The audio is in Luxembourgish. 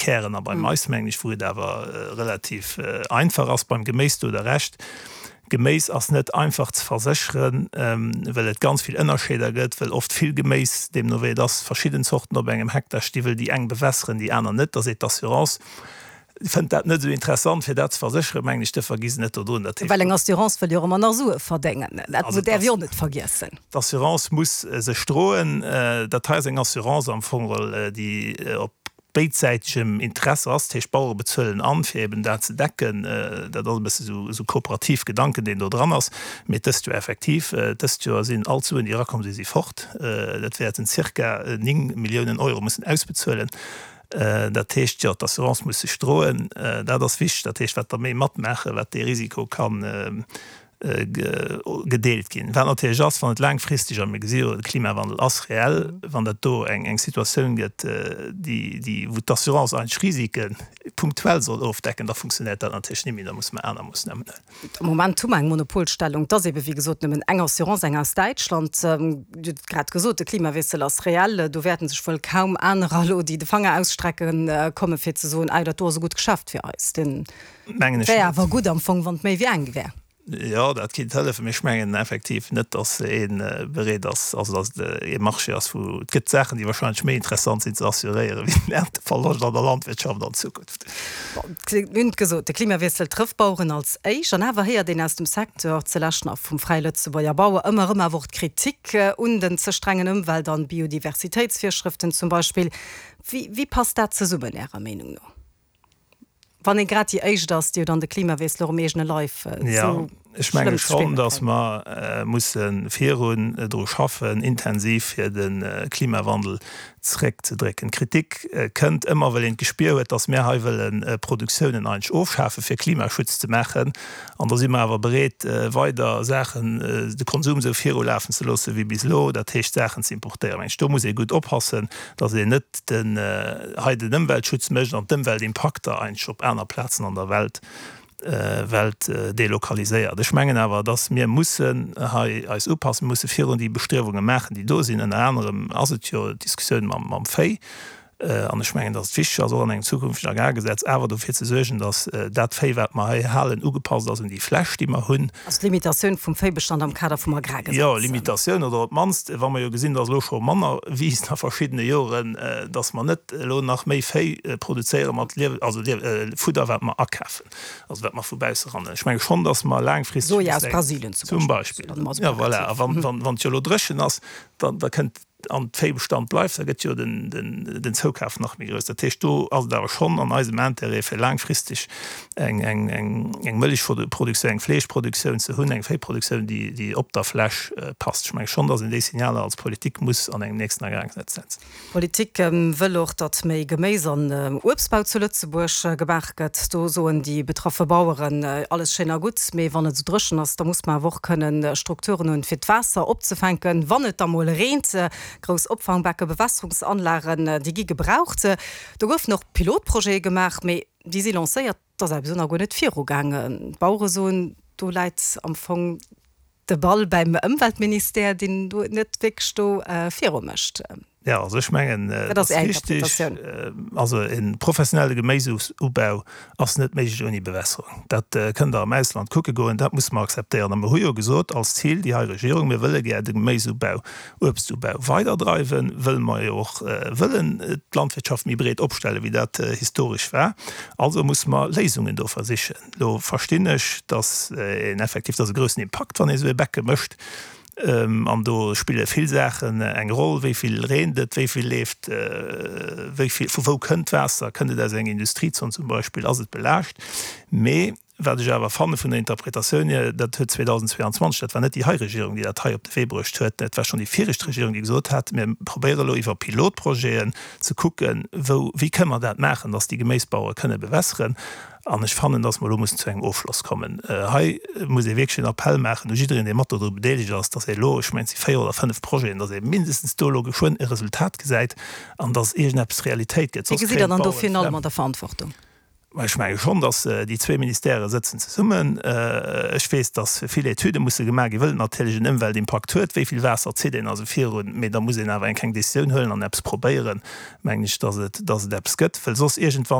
Kären a beim Mais, mengen ech, wou et awer relativ einfach ass. Beim Geméis, do hutt Der Recht, Geméis ass net einfach ze versécheren, well et ganz vill Ënnerscheeder gëtt, well oft vill Geméis, deemno wéi et ass, verschidden Zorten op engem Hektar sti wëll déi eng bewässeren, déi aner net. Da seet d'Assurance, fënnt dat net esou interessant fir dat ze versécheren, mengen ech, duerfir gi se net dodrun. Dat heescht. Well eng Assurance wëll jo och ëmmer nach Sue verdéngen, dat däerf ee och net vergiessen. D'Assurance muss sech droen. Dat hei ass eng Assurance am Fong geholl, déi op béidsäitegem Interesse ass, dat heescht d'Bauere bezuelen an, fir eben dat ze decken. Dat ass e bësse sou esou kooperativ Gedanken, deen do dran ass. Mee dëst Joer effektiv, dëst Joer sinn all d'Suen, déi erakomm sinn, si fort. Dat wäerten zirka 9 Milliounen Euro mussen ausbezuelen. Dat heescht, jo, d'Assurance muss sech droen, dat ass wichteg. Dat heescht, wat der méi matmaachen, wat dee Risiko kann gedeelt ginn. Wat natierlech ass, wann et laangfristeg, a mir gesi jo, de Klimawandel ass reell, wann dat do eng eng Situatioun gëtt, déi, déi, wou d'Assurance eigentlech Risike punktuell soll ofdecken, da funktionéiert dat natierlech net méi, da musse mer aner Moossnamen huelen. Am Moment hu mer eng Monopolstellung, et ass ebe wéi gesot nëmmen eng Assurance, eng aus Däitschland. Dir hutt et grad gesot, de Klimawiessel ass reell, do wäerte sech wuel kaum anerer elo, déi de Fanger ausstrecken, komme fir ze soen, ah jo, dat do ass e gutt Geschäft fir eis. Den. Mengen ech Wär net. awer gutt am Fong, wann et méi wéi eng wär. Jo, dat kinnt hëllefen, mee ech mengen effektiv net, datt ee bereet ass, also datt et ee Marché ass, wou et gëtt Saachen, déi wahrscheinlech méi interessant sinn ze assuréieren, wéi den Ernteverloscht an der Landwirtschaft an Zukunft. Bon, mir hunn et gesot, de Klimawiessel trëfft d'Baueren als éischt. An awer héiert een aus dem Secteur, zelescht nach vum Fräie Lëtzebuerger Bauer, ëmmer erëm awer och d'Kritik un den ze strengen Ëmwelt an Biodiversitéitsvirschrëften zum Beispill. Wéi, wéi passt dat zesummen Ärer Meenung no? Wann ee grad déi Éischt ass, déi jo dann de Klimawiessel och um eegene Leif esou Ech menge schonn, datt mer musse virun dru schaffen, intensiv, fir de Klimawandel zeréckzedrécken. D'Kritik kënnt ëmmer, well een d'Gespier huet, datt mir hei wëlle Produktiounen eigentlech ofschafen, fir Klimaschutz ze maachen. An da si mer awer bereet, weider Saachen, de Konsum esou virulafen ze loosse wéi bis elo, dat heescht Saachen ze importéieren. Mengen ech, do muss ee gutt oppassen, datt een net den hei den Ëmweltschutz mécht an d'Ëmweltimpakter eigentlech op aner Plazen an der Welt Welt delokaliséiert. Ech mengen awer, datt mir mussen hei eis upassen, mir musse virun déi Bestriewunge maachen, déi do sinn. Ënner anerem ass et jo d'Diskussioun mam mam Véi. An ech mengen, datt et wichteg ass, och an engem zukünftegen Agrargesetz awer dofir ze suergen, datt dat Véi, wat mer hei halen, ugepasst ass un déi Fläch, déi mer hunn. Also d'Limitatioun vum Véibestand am Kader vum Agrargesetz. Jo, Limitatioun oder op d'mannst, wa mer jo gesinn, datt elo scho manner wiisst a verschiddene Joren, datt mer net elo nach méi Véi produzéiere mat Liew-, also Fudder, wat mer akafen, also wat mer vu bausse eranhuelen. Ech menge schonn, datt mer laangfristeg. Soja aus Brasilien zum Beispill. Zum Beispill. Jo, voilà. A wann, wann et jo elo dréchen ass, da, da kënnt an d'Véibestand bleift, da gëtt jo den Zoukaf nach méi grouss. Dat heescht, do ass et awer schonn an eisem Intérêt, fir laangfristeg eng Mëllechproduktioun, eng Fleeschproduktioun ze hunn, eng Véiproduktioun, déi op der Fläch passt. Ech menge schonn, datt een déi Signaler als Politik muss an engem nächsten Agrargesetz setzen. D'Politik wëll och, datt méi Geméis an Uebstbau zu Lëtzebuerg gemaach gëtt. Do soen déi betraffe Baueren, alles schéin a gutt, mee wann et esou dréchen ass, da muss mer awer och kënnen Strukturen hunn, fir d'Waasser opzefänken, wann et da mol reent. Grouss Opfangbecke, Bewässerungsanlagen, déi gi gebraucht. Do goufen och Pilotprojete gemaach, mee déi si lancéiert, et ass awer bis elo nach guer net virugaangen. D'Bauere soen, do läit am Fong De Ball bäim Ëmweltministère, deen do net wierklech do viru mécht. Jo, also ech mengen, et ass richtig, also e professionelle Geméisubau ass net méiglech ouni Bewässerung. Dat kënnt Der am Ausland kucke goen, dat musse mer akzeptéieren. A mer hu jo gesot als Zil, déi hei Regierung, mir wëlle gär de Geméisubau, Uebstubau weiderdreiwen, wëll mer jo och wëllen d'Landwirtschaft méi breet opstellen, wéi dat historesch war. Also musse mer Léisungen do versichen. Lo verstinn ech, dass een effektiv, dat ass e groussen Impakt, wann ee sou e Becke mécht. An do spille vill Saachen eng Roll, wéi vill reent et, wéi vill leeft, wéi vill, vu wou kënnt d'Waasser, kënnt et aus enger Industriezon zum Beispill, ass et belaascht. Mee wat ech awer fanne vun der Interpretatioun hier, dat huet 2022, dat war net déi hei Regierung, déi dat hei op de Wee bruecht huet, dat war schonn déi viregt Regierung, déi gesot hat, mir probéiere elo iwwer Pilotprojeten ze kucken, wou, wéi kënne mer dat maachen, dass déi Geméisbauere kënne bewässeren. An ech fannen, dass mer elo mussen zu engem Ofschloss kommen. Hei muss ee wierklech en Appell maachen u jiddereen, dee mat dodru bedeelegt ass, dass ee elo, ech mengen, et si véier oder fënnf Projeten, dass ee mindestens do elo geschwënn e Resultat gesäit an dass iergendeppes Realitéit gëtt. Wéi Soss gesitt Der kréien dann do d'Baueren virun allem d'Flemm. an der Verantwortung? Ech menge schonn, datt déi zwee Ministèrë sëtzen zesummen. Ech weess, datt vill Etüde musse gemaach ginn, wëll et natierlech en Ëmweltimpakt huet, wéi vill Waasser zitt een also virun. Mee da muss een awer eng kleng Décisioun huelen an eppes probéieren, mengen ech, datt et, datt et eppes gëtt, wëll soss iergendwann.